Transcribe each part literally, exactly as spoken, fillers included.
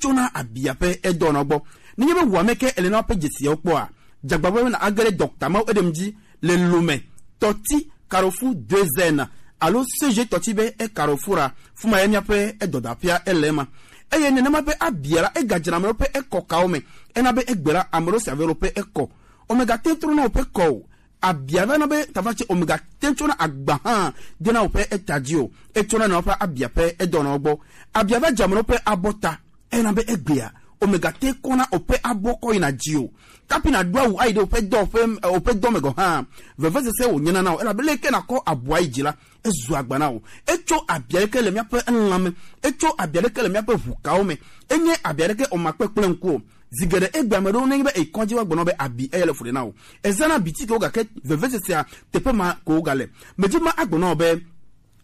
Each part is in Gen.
etsona abia ƒe edɔwɔna gbɔ. Nenye be wò ame ke ele na woƒe dzesiawo kpɔa, dzagbagba be na age ɖe dɔkta mawo eɖem dzi le Lomé, Tɔti, Carrefour deux N alo C G Tɔti be e Carrefour a, fuma ye míaƒe edɔdaƒea ele ema. Eye nenema be abia la, egadzena ame ɖewo ƒe ekɔkawo me. Ena be egbe la, ame ɖewo si ave ɖewo ƒe ekɔ. Omega te trɔna woƒe kɔ o. Abia va na be tafa tse omega te tsona agba hã dena woƒe eta dzi o. Etsona na woƒe abia ƒe edɔnawo gbɔ. Abia va dze ame ɖewo ƒe abɔta. Ena be egbea, omega te kɔna woƒe abɔ kɔ yina dzi o. Kapi na ɖo awu ayi ɖe woƒe dɔ ƒe, eh, woƒe dɔ me gɔ̃ hã, vevesese wònyena na wò, elabe leke nakɔ abɔa yi dzi la, ezu agba na wò. Etso abia ɖeke le míaƒe elã me. Etso abia ɖeke le míaƒe ʋukawo me. Enye abia ɖeke o makpe kple ŋku o. Zi geɖe egbe ame ɖewo nenye be eyi kɔdzi woagblɔ na wò be abi eye le fu ɖe na wò. Ezãna bitikewo gake vevesesea teƒe ma ko wogale. Medzi ma agblɔ na wò be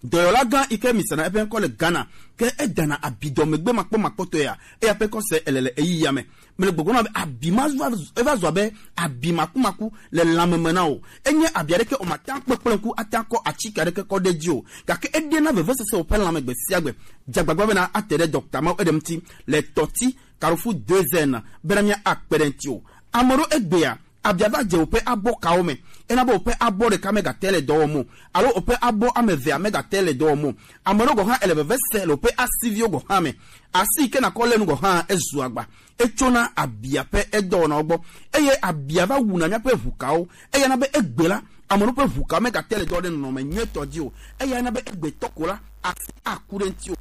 dɔyɔla gã yi ke misana eƒe ŋkɔ le Ghana ke edana abidɔ megbe makpɔmakpɔtɔe ya, eya ƒe kɔse ele le eyi ya me. Mele gbɔgblɔ na be abi ma va, eva zu abe abi makumaku le lãme me na wò. Enye abi aɖeke o mate ŋu akpɔ kple ŋku ate ŋu akɔ atike aɖeke kɔ ɖe dzi o, gake eɖena vevesese wò ƒe lãme gbe sia gbe. Dze agbagba bena ate ɖe dɔkta mawo eɖe ŋuti le Tɔti, Carrefour deux N, bena mía akpe ɖe ŋuti o. Ame ɖewo egbea, abia va dze woƒe abɔkawo me. Ena be woƒe abɔ ɖeka megate le dɔ wɔm o, alo woƒe abɔ ame evea megate le dɔ wɔm o. Ame ɖewo gɔ̃ hã ele veve se le woƒe asiviwo gɔ̃ hã me. Asi yi ke nakɔ lé nu gɔ̃ hã ezu agba. Etsona abia ƒe edɔwɔnawo gbɔ, eye abia va wuna míaƒe ʋukawo. Eya na be egbe la, ame ɖewo ƒe ʋukawo megate le dɔ wɔm ɖe nɔnɔme nyuitɔ dzi o. Eya na be egbetɔ ko la, asi aku ɖe ŋuti o.